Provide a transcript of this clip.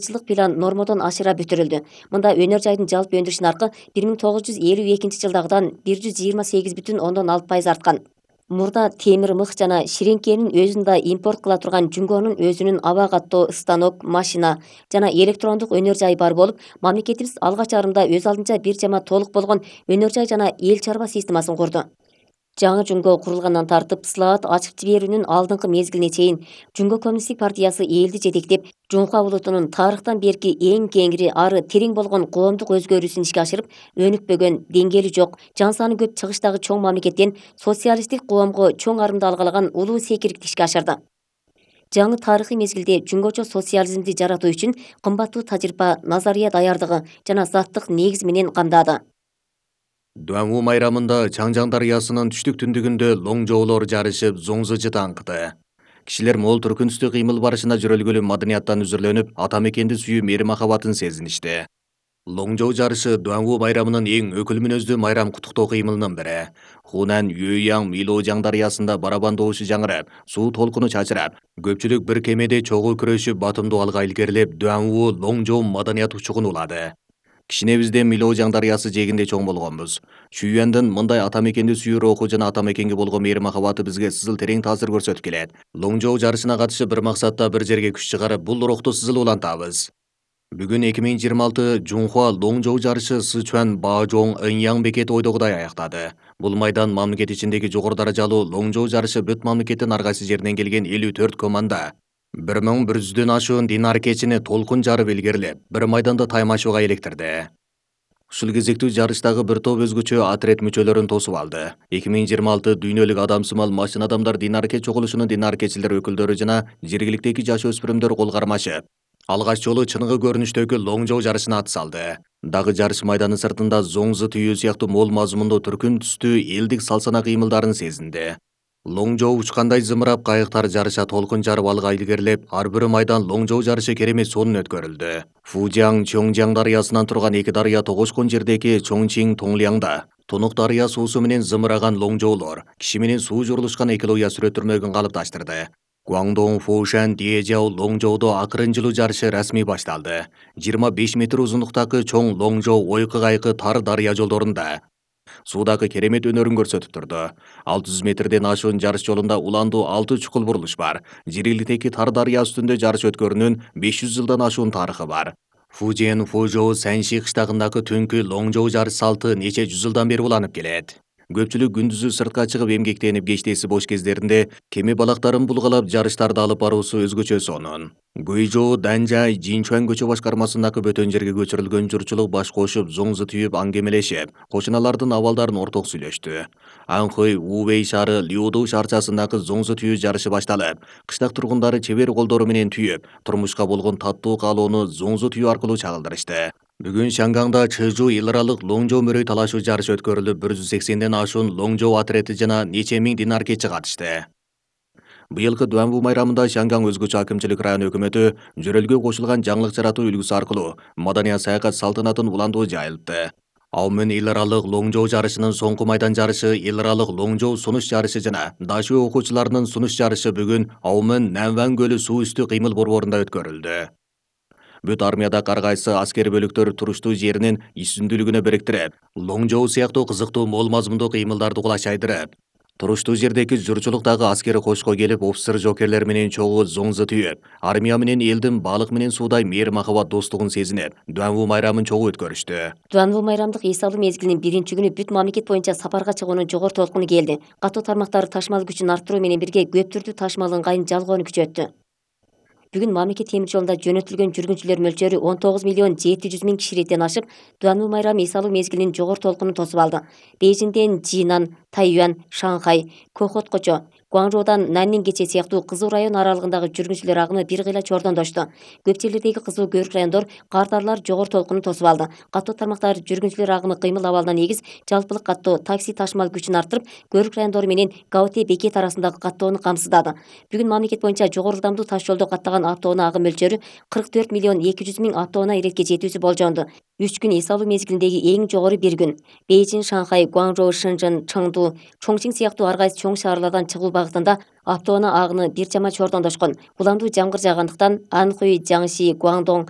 жылдык план нормодон ашыра бүтүрүлдү. Мында өнөр жайдын жалпы өндүрүш наркы 1952-жылдагыдан 128,6% арткан. Мурда темир мых жана ширеңкенин өзүн да импорт кыла турган Жунгонун өзүнүн аба каттоо станок, машина жана электрондук өнөр жайы бар болуп, мамлекетибиз алгач арымда өз алдынча бир жама толук болгон өнөр жай жана эл чарба системасын курду. Жаңы Жунго курулгандан тартып, слаат ачып жиберүүнүн алдыңкы мезгилине чейин Жунго коммунисттик партиясы элди жетектеп, Жунха улутунун тарыхтан берки эң кеңири, ары терең болгон коомдук өзгөрүүсүн ишке ашырып, өнүкпөгөн, деңгээли жок, жан саны көп чыгыштагы чоң мамлекеттен социалисттик коомго чоң арымды алгалаган улуу секирикти ишке ашырды. Жаңы тарыхый мезгилде жунгочо социализмди жаратуу үчүн кымбаттуу тажрыйба, назария даярдыгы жана заттык негиз менен камдады. Дуаңуу майрамында Чаңжаң дарыясынын түштүк түндүгүндө лоңжоолор жарышып, зоңзу таңкыды. Кишилер мол түркүнүстүү кыймыл барышына жүрөлгүлүү маданияттан үзүрлөнүп, ата мекенди сүйүү мээри махабатын сезиништи. Лоңжоо жарышы Дуаңуу майрамынын эң өкүл мүнөздүү майрам куттуктоо кыймылынын бири. Хунан Юйяң Милоожаң дарыясында барабан добушу жаңырап, суу толкуну чачырап, көпчүлүк бир кемеде чогуу күрөшүп, батымдуу алга илгерилеп, Дуаңуу Лоңжоо маданият учугун улады. Кичинебизде Милоожаң дарыясы жээгинде чоң болгонбуз. Чүйөндүн мындай ата мекенди сүйүү руху жана ата мекенге болгон мээри махабаты бизге сызыл терең таасир көрсөтүп келет. Лоңжоо жарышына катышып, бир максатта бир жерге күч чыгарып, бул рухту сызыл улантабыз. Бүгүн 2026 Жунхуа Лоңжоо жарышы Сычуан Баожоң Эньяң бекети ойдогудай аяктады. Бул майдан мамлекет ичиндеги жогору даражалуу Лоңжоо жарышы бүт мамлекеттин ар кайсы жеринен келген 54 команда 1100дөн ашуун дин аракечини толкун жарып илгерилеп, бир майданда таймашууга электирди. Ушул кезектүү жарыштагы бир топ өзгөчө отряд мүчөлөрүн тосуп алды. 2026 дүйнөлүк адамсымал машина адамдар дин аракет чогулушунун дин аракетчилер өкүлдөрү жана жергиликтеги жаш өспүрүмдөр кол кармашып, алгач жолу чыныгы көрүнүштөгү Лоңжоо жарышына ат салды. Дагы жарыш майданы сыртында зоңзу түйүү сыяктуу мол мазмундуу түркүн түстүү элдик салсана кыймылдарын сезинди. Лоңжоо учкандай зымырап, кайыктар жарыша толкун жарып алга илгерилеп, ар бир майдан Лоңжоо жарышы керемет сонун өткөрүлдү. Фужиang Чоңжаң дарыясынан турган эки дарыя тогошкон жердеги Чоңчиң Тоңлиаңда Тунук дарыя суусу менен зымыраган лоңжоолор киши менен суу журулушкан экология сүрөттөрмөгүн калыпташтырды. Гуаңдоң Фошан Диэжяо Лоңжоодо акырын жылуу жарышы расмий башталды. 25 метр узундуктагы чоң Лоңжоо ойкы кайкы тар дарыя жолдорунда суудагы керемет өнөрүн көрсөтүп турду. 600 метрден ашуун жарыш жолунда уландуу 6 чукул бурулуш бар. Жергиликтеги тар дарыя үстүндө жарыш өткөрүүнүн 500 жылдан ашуун тарыхы бар. Фужиэн Фужоо Санши кыштагындагы түнкү Лоңжоо жарыш салты нече жүз жылдан бери уланып келет. Көпчүлүк күндүзү сыртка чыгып эмгектенип, кечтеси бош кездеринде кеме балактарын булгалап жарыштарды алып баруусу өзгөчө сонун. Гуйжоо Данжай Жинчуан көчө башкармасындагы бөтөн жерге көчүрүлгөн журтчулук баш кошуп, зоңзу түйүп, аңгемелешип, кошуналардын абалдарын орток сүйлөштү. Анхой Увей шаары Лиуду шаарчасындагы зоңзу түйүү жарышы башталып, кыштак тургундары чебер колдору менен түйүп, турмушка болгон таттуу каалоону зоңзу түйүү аркылуу чагылдырышты. Бүгүн Шангаңда Чыжу эл аралык Лоңжоо мөрөй талашуу жарышы өткөрүлүп, 180ден ашуун Лоңжоо отрети жана нече миң дин аракетчи катышты. Быйылкы Дуаңуу майрамында Шангаң өзгөчө акимчилик район өкмөтү жөрөлгө кошулган жаңылык жаратуу үлгүсү аркылуу маданият саякат салтанатын уландуу жайылтты. Аумун эл аралык Лоңжоо жарышынын соңку майдан жарышы, эл аралык Лоңжоо сунуш жарышы жана дашуу окуучуларынын сунуш жарышы бүгүн Аумун Нанван көлү суу үстү кыймыл борборунда өткөрүлдү. Бүт армиядагы ар кайсы аскер бөлүктөр туруштуу жеринин үстүндүүлүгүнө бириктирип, Лоңжоо сыяктуу кызыктуу мол мазмундуу кыймылдарды кулаш айдырып, туруштуу жердеги журтчулуктагы аскери кошко келип, офицер жокерлер менен чогуу зоңзу түйүп, армия менен элдин балык менен суудай мээри махабат достугун сезинип, Дуаңуу майрамын чогуу өткөрүштү. Дуаңуу майрамдык эс алуу мезгилинин биринчи күнү бүт мамлекет боюнча сапарга чыгуунун жогору толкуну келди. Катуу тармактар ташмал күчүн арттыруу менен бирге көп түрдүү ташмал ыңгайын жалгоону күчөттү. Бүгүн мамлекет темир жолунда жөнөтүлгөн жүргүнчүлөр мөлчөрү 19 миллион 700 миң киши реттен ашып, Дуаңуу майрамы эс алуу мезгилинин жогору толкунун тосуп алды. Бейжиңден Жинан, Тайюань, Шанхай, Кохоткочо, Гуаңжоодон Наннин кече сыяктуу кызуу район аралыгындагы жүргүнчүлөр агымы бир кыйла чордондошту. Көп жерлердеги кызуу көрүк райондор кардарлар жогору толкунун тосуп алды. Каттоо тармактар жүргүнчүлөр агымы кыймыл абалына негиз жалпылык каттоо такси ташмал күчүн арттырып, көрүк райондору менен Гаоте бекет арасындагы каттоону камсыздады. Бүгүн мамлекет боюнча жогору ылдамдуу таш жолдо каттаган автоунаа агым мөлчөрү 44 миллион 200 миң автоунаа иретке жетүүсү болжонду. 3 күн эс алуу мезгилиндеги эң жогору бир күн. Бейжин, Шанхай, Гуанчжоу, Шэньчжэн, Чыңду, Чоңчиң сыяктуу ар кайсы чоң шаарлардан чыгуу багытында автоунаа агыны бир чама чордондошкон. Уламдуу жамгыр жаагандыктан Анхуй, Жаңши, Гуандоң,